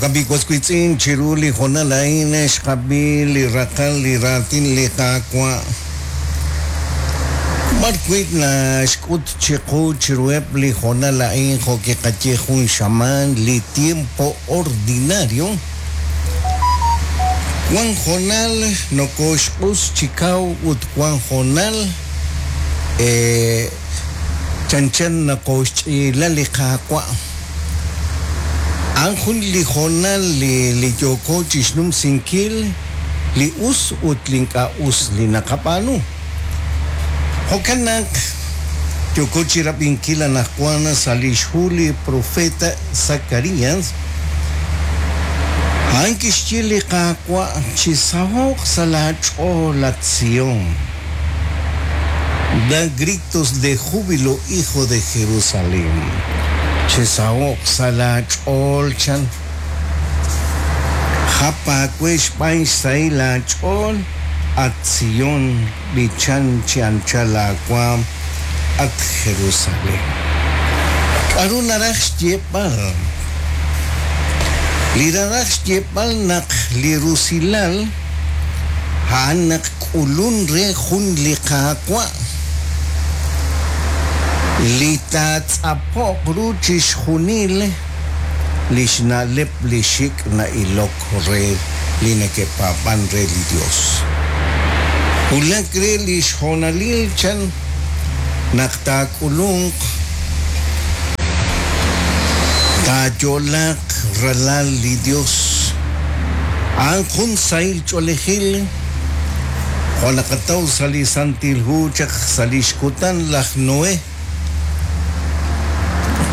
Jo'kan b'i' was wiitz'in, chiru li hoonal a'in xqab'i li raqal li raatin li Qaawa', b'ar wi' naxk'ut chiqu chiruheb' li hoonal a'in jo' kiqaye jun xamaan li tiempo ordinario. Wan hoonal nokoxq'us chi kaw ut wan hoonal chanchan nokoxch'iila li Qaawa'. A'an jun li hoonal li yooko chixnumsinkil li us ut li ink'a' us li naqab'aanu. Jo'kan naq yooko chirab'inkil anajwan sa' lix hu li profeta Zacarias, a'an kixye li Qaawa' Chisaho'q sa' laa ch'ool, at Sion. Da gritos de júbilo, hijo de Jerusalén. Chisaho'q sa' laa ch'ool, chan. Jap aawe xb'aan xsahil aach'ool, at Sion, b'ichan chi anchal aawaam, at Jerusalén. K'a'ru naraj xyeeb'al? Li naraj xyeeb'al naq li rusilal a'an naq k'ulun re jun li Qaawa' li taatz'apo'q ru chixjunil li xna'leb' li xik' na'ilok re li neke'paab'an re li Yos. Wulak re li xhoonalil chan naq taak'ulunq, taayo'laaq ralal li Yos. A'an jun sahil ch'oolejil jo' naqataw sa' li Santil Hu chaq sa' li xkutan laj Noe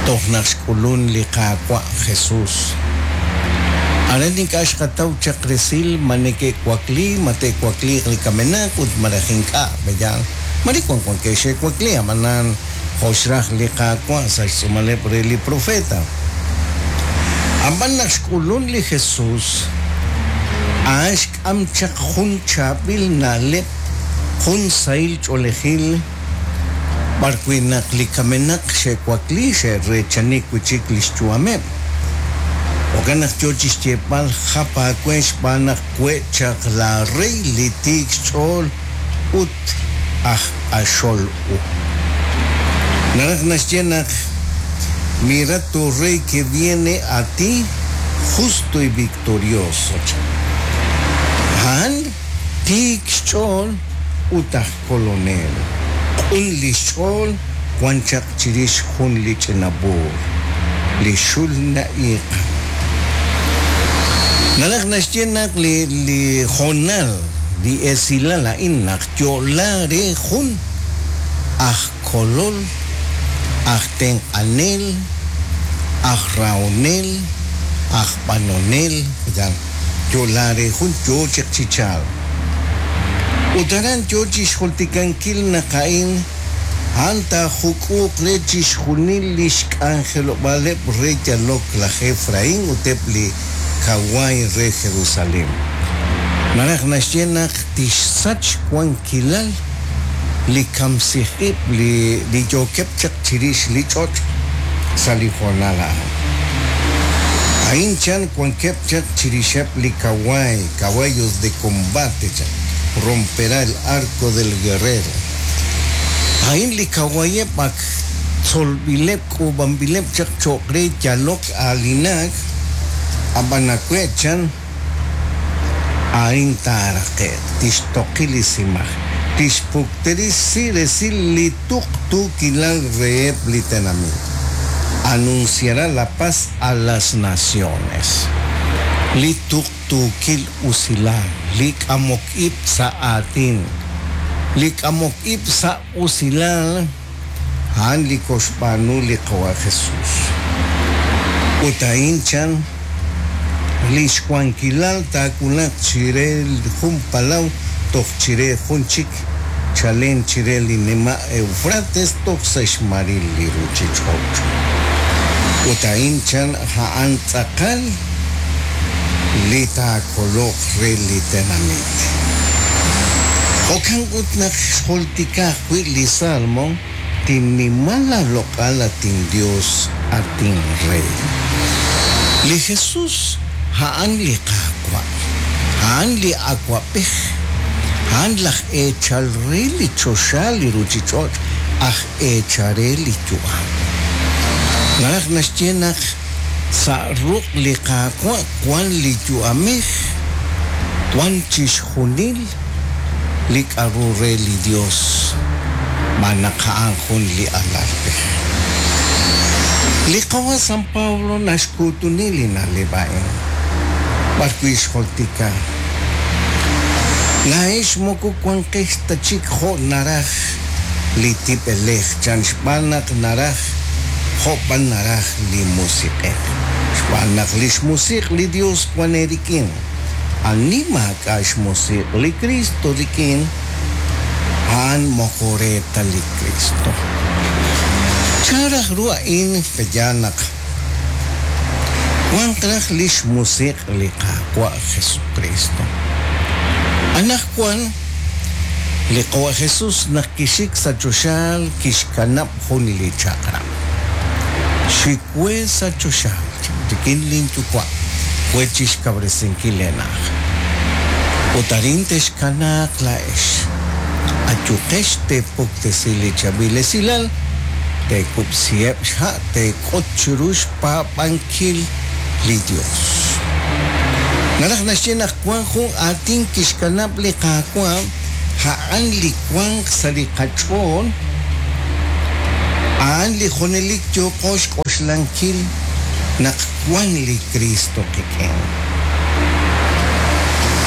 toj naq xk'ulun li Qaawa' Jesus. Aran ink'a' xqataw chaq resil ma neke'wakli, ma te'wakliiq li kamenaq ut malaj ink'a', pe'yaal? Mare wan wankeb' xe'wakli, ab'anan jo' xraj li Qaawa' sa' xtz'uumaleb' re li profeta. Ab'an naq xk'ulun li Jesus, a'an xk'am chaq jun chaab'il na'leb', jun sahil ch'oolejil, b'ar wi' naq li kamenaq xe'wakli xe'reechani wi' chik li xyu'ameb'. Jo'kan naq yo chi xyeeb'al, Jap aawe xb'aan naq we' chaq laarey li tiik xch'ool ut aj q'axol u. Naraj naxye naq Mira tu rey que viene a ti justo y victorioso chan. A'an tiik xch'ool ut aj kolonel. Q'un li xch'ool wan chaq chirix jun li ch'ina b'uur, li xul na'iiqan. Naraj naxye naq li li hoonal, li esilal a'in naq yo'la re jun aj kolol, aj tenq'anel, aj rahonel, aj b'anonel, yo'la re jun yoo chaq chi chalk. Ut aran yoo chixjultikankil naq a'in, a'an taajuk'uuq re chixjunil lix k'anjelob'aaleb' re yalok laj Efrain ut eb' li kawaay re Jerusalen. Naraj naxye naq tixsach xwankilal li kamsij-ib' li yookeb' chaq chirix li ch'och' sa' li hoonal a'an. A'in chan wankeb' chaq chirixeb' li kawaay, caballos de combate chan, romperá el arco del guerrero. A'in li kawaayeb' ak tzolb'ileb' k'uub'anb'ileb' chaq cho'q re yalok aalinak, ab'an awe' chan, A'in taaraqe'q, tixtoqi li simaj, tixpukterisi resil li tuqtuukilal reheb' li tenamit, anunciará la paz a las naciones. Li tuqtuukil usilal, li k'amok ib' sa' aatin, li k'amok ib' sa' usilal, a'an li koxb'aanu li Qawa' Jesús. Ut a'in chan, li xwankilal taawulaq chire jun palaw toj chire jun chik, chalen chire li nima' Eufrates toj sa' xmaril li ruuchich'och'. Ut a'in chan, a'an tz'aqal li taakoloq re li tenamit. Jo'kan ut naq xjultika ajwi' li Salmo, Tinnima laaloq'al, at inYos, at inRey. Li Jesus. A'an li Qaawa', a'an li Awa'b'ej, a'an laj eechal re li choxa li ruchich'och' aj eechal re li yu'am. Naraj naxye naq sa' ruq' li Qaawa' wan li yu'amej, wan chixjunil li k'a'ru re li Dios, xb'aan naq a'an jun li alalb'ej. Li Qawa' San Pablo naxkuutuni li na'leb' a'in, b'arwi' xjultika, Laa'ex moko wanqex ta chik jo' naraj li tib'elej chan xb'aan naq naraj jo' b'an naraj li Musiq'ej, xb'aan naq li xmusiq' li Dios wan eerik'in. Ani maak'a' xmusiq' li Kristo rik'in, a'an moko re ta li Kristo. Chan raj ru a'in pe'yaal naq wanq raj li xmusiq' li Qaawa' Jesukristo? Anaqwan, li Qawa' Jesus naq kixik sa' choxaal kixkanab' jun li chaq'rab'. Xik we sa' choxaal rik'in lin Yuwa' we chixkawresinkil eena'aj. Ut arin texkanaaq laa'ex. Ayuqex teepuktesi li chaab'il esilal, teekub'siheb' xha' teek'ut chiru xpaab'ankil li Dios. Naraj naxye naq wan jun aatin kixkanab' li Qaawa', a'an li wanq sa' li qach'ool, a'an li junelik yooqo xk'oxlankil naq wan li Kristo qik'in.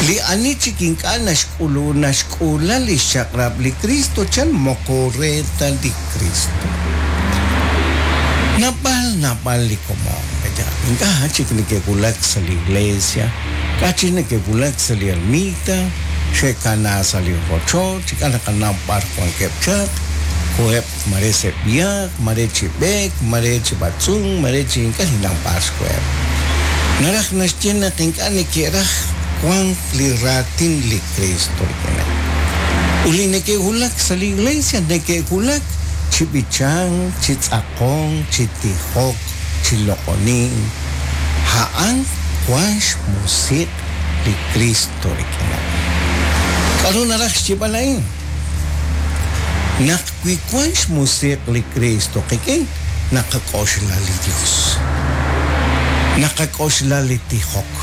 Li ani chik ink'a' naxk'ulu naxk'uula lix chaq'rab' li Kristo chan moko re ta li Kristo. Naab'al naab'al li komon ink'a' chik neke'wulak sa' li iglesia, ink'a' chik neke'wulak sa' li ermita, xe'kana sa' li rochoch, ink'a' naqanaw b'ar wankeb' chaq, koheb' mare se'b'yaaq, mare chi b'eek, mare chi b'atz'unk, mare chi ink'a' ninnaw b'ar xkoheb'. Naraj naxye naq ink'a' neke'raj wank li raatin li Kristo rik'ineb'. Ut li neke'wulak sa' li iglesia neke'wulak chi b'ichank, chi tz'aqonk, chi tijok, chi loq'onink. A'an wan xmusiq' li Kristo rik'ineb'. K'a'ru naraj xyeeb'al a'in? Naq wi wan xmusiq' li Kristo qik'in, naqak'oxla li Dios. Naqak'oxla li tijok.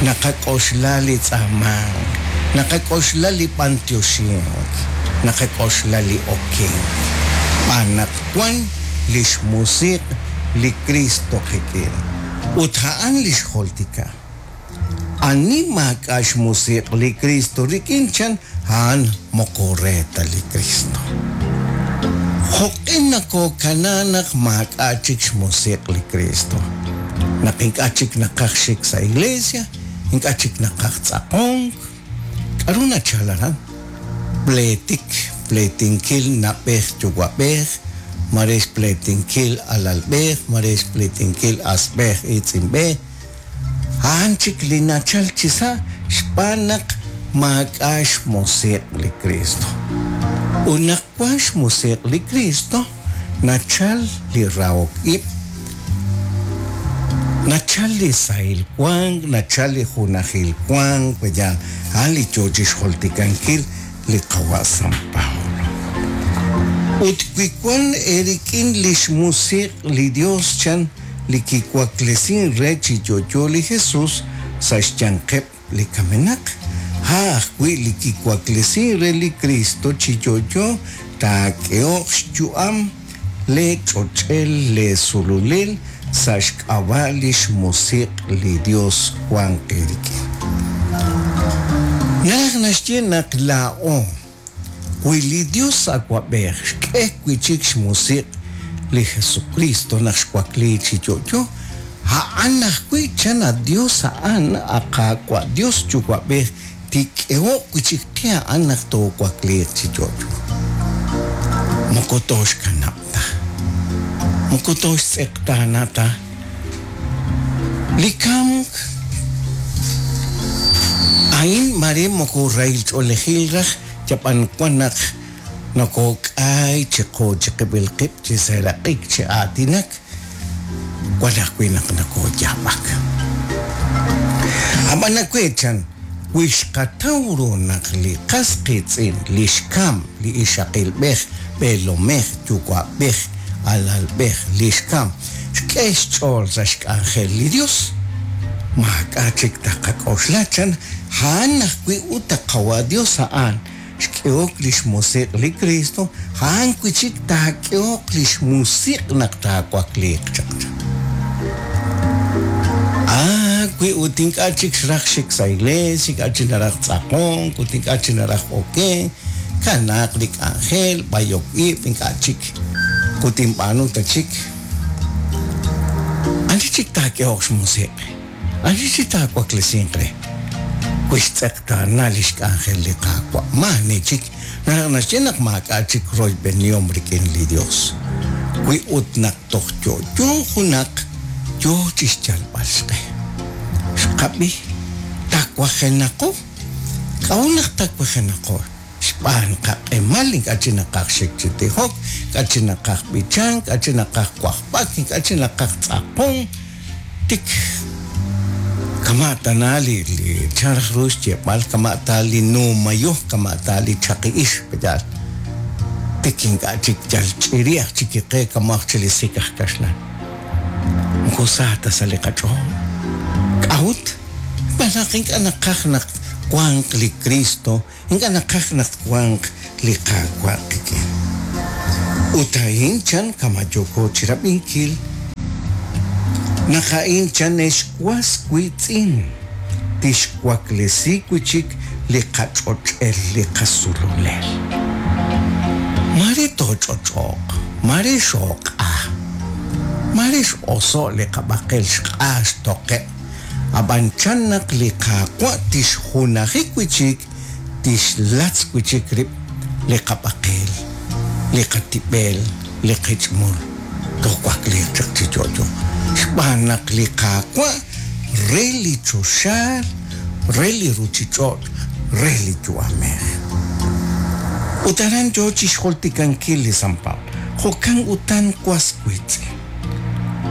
Naqak'oxla li tz'aamank. Naqak'oxla li b'antioxink. Naqak'oxla li okenk. Xb'aan naq wan lix musiq' li Kristo qik'in. Ut a'an lix jultika. Ani maak'a' xmusiq' li Kristo rik'in chan a'an moko re ta li Kristo. Jo'q'e nakookana naq maak'a' chik xmusiq' li Kristo? Naq ink'a' chik naqaj xik sa' iglesia, ink'a' chik naqaj tz'aqonk. K'a'ru nachal aran? Pleetik, pleetinkil na'b'ej yuwa'b'ej, mare xpleetinkil alalb'ej, mare xpleetinkil asb'ej iitz'inb'ej. A'an chik li nachal chi sa' xb'aan naq maak'a' xmusiq' li Kristo. Ut naq wan xmusiq' li Kristo, nachal li rahok ib', nachal li sahil wank, nachal li junajil wank, yaal, a'an li yoo chixjultikankil li Qawa' San Pablo. Ut wi wan eerik'in lix musiq' li Dios chan li kiwaklesin re chi yo'yo li Jesus sa' xyanqeb' li kamenaq, a' ajwi' li kiwaklesin re li Kristo chi yo'yo taak'ehoq xyu'am lee ch'och'el lee sululel sa' xk'ab'a' lix musiq' li Dios wanq eerik'in. Naraj naxye naq laa'o, wi li Dios Awa'b'ej xk'e wi'chik xmusiq' li Jesukristo naq xwakli chi yo'yo, a'an ajwi' chan a Dios a'an, a Qaawa' Dios Yuwa'b'ej tik'ehoq wi'chik qe a'an naq toowakliiq chi yo'yo. Moko tooxkanab' ta. Moko tooxtz'eqtaana ta. Li kamk a'in mare moko rahil ch'oolejil raj yab'an wan naq nokok'ay chiqu chiqib'il qib' chi seeraq'ik chi aatinak wan ajwi' naq nokooyaab'ak. Ab'an awe' chan, wi xqataw ru naq li qas qiitz'in, li xkamk, li ixaqilb'ej, b'eelomej, yuwa'b'ej, alalb'ej, li xkamk, xk'e xch'ool sa' xk'anjel li Yos, maak'a' chik taqak'oxla chan, a'an ajwi' ut a Qawa' Yos a'an xk'ehok li xmusiq' li Kristo, a'an wi' chik taak'ehoq li xmusiq' naq taawakliiq chaq chan. Ah, wi ut ink'a' chik xraj xik sa' iglees, ink'a' chik naraj tz'aqonk, ut ink'a' chik naraj okenk, kanaaq li k'anjel, b'ayok ib', ink'a' chik ut tinb'aanu ta chik. Ani chik taak'ehoq xmusiq'? Ani chik taawaklesinq re? Wi xtz'eqtaana li xk'anjel li Qaawa', maa'ani chik, naraj naxye naq maak'a' chik royb'enihom rik'in li Yos. Wi ut naq toj yo'yo junaq yo chi xyalb'al xq'e. Xqab'i, tawajenaqo. K'a'ut naq tawajenaqo? Xb'aan qaq'emal ink'a' chik naqaj xik chi tijok, ink'a' chik naqaj b'ichank, ink'a' chik naqaj wajb'ak, ink'a' chik naqaj tz'aqonk, tik kama' tana li li chan raj ru xyeeb'al, kama' ta li nuumayo, kama' ta li chaqi-ix, pe'yaal? Tik ink'a' chik yal ch'iri aj chik kiqe kama' aj chik li sik aj kaxlan. Moko sa ta sa' li qach'ool. K'a'ut? Xb'aan naq ink'a' naqaj naq wanq li Kristo, ink'a' naqaj naq twanq li Qaawa' qik'in. Ut a'in chan kama' yooko chirab'inkil, naq a'in chan ex was wiitz'in, tixwaklesi wi' chik li qach'och'el li qasululel. Maare tooch'och'o'q, maare xooq'a, maare x'oso' li qab'aqel xq'a xtoqe', ab'an chan naq li Qaawa' tixjunaji wi' chik, tixlatz wi' chik rib' li qab'aqel, li qatib'el, li qich'mul, toowakliiq chaq chi yo'yo. Xb'aan naq li Qaawa' re li choxaal, re li ruchich'och', re li yu'amej. Ut aran yoo chixjultikankil li San Pablo, Jo'kan utan was wiitz'in,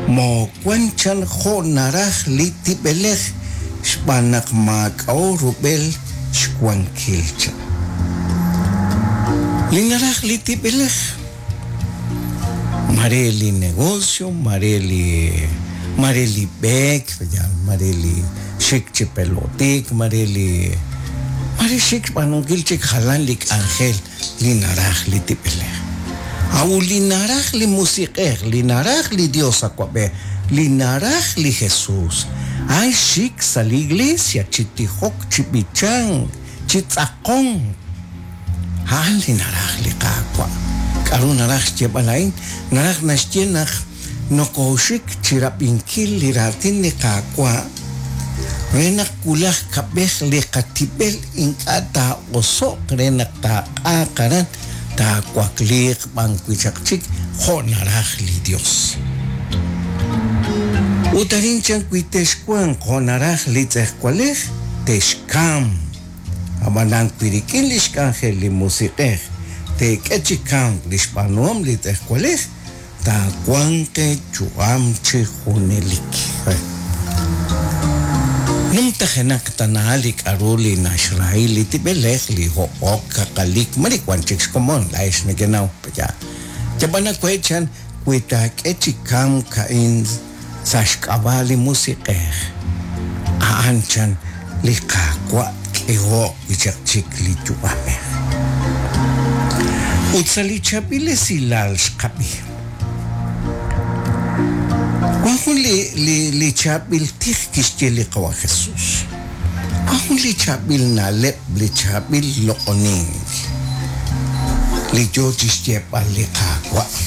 moowan chan jo' naraj li tib'elej xb'aan naq maak'a'o rub'el xwankil chan. Li naraj li tib'elej. Mare li negocio, mare li mare li b'eek, mare li xik chi pelotik, mare li mare xik xb'aanunkil chik jalan li k'anjel li naraj li tib'elej. A'ut li naraj li Musiq'ej, li naraj li Dios Awab'ej, li naraj li Jesus, a'an xik sa' li iglesia chi tijok, chi b'ichank, chi tz'aqonk. A'an li naraj li Qaawa'. K'aru naraj xyeeb'al a'in? Naraj naxye naq nokooxik chi rab'inkil li raatin li Qaawa' re naq wulaj kab'ej li qatib'el ink'a' taa'oso'q re naq taaq'aaq aran taawakliiq b'an wi' chaq chik jo' naraj li Yos. Ut arin chan wi texwanq jo' naraj li tz'ejwalej, texkamq. Ab'anan wi rik'in lix k'anjel li Musiq'ej teek'e chi kamk li xb'aanuhom li tz'ejwalej, taawanq eeyu'am chi junelik. Numtajenaq tana li k'a'ru li naxrahi li tib'elej, li hob'ok, kaqalik, mare wan chik xkomon, laa'ex nekenaw, pe'yaal? Yab'an awe' chan, wi taak'e chi kamk a'in sa' xk'ab'a' li Musiq'ej, a'an chan li Qaawa' tk'eho'q wi' chaq chik li yu'amej. Ut sa' li chaab'il esilal xqab'i, wan jun li, li, li chaab'il tij kixye li Qawa' Jesus. Wan jun li chaab'il na'leb', li chaab'il loq'onink, li yoo chixyeeb'al li Qaawa'.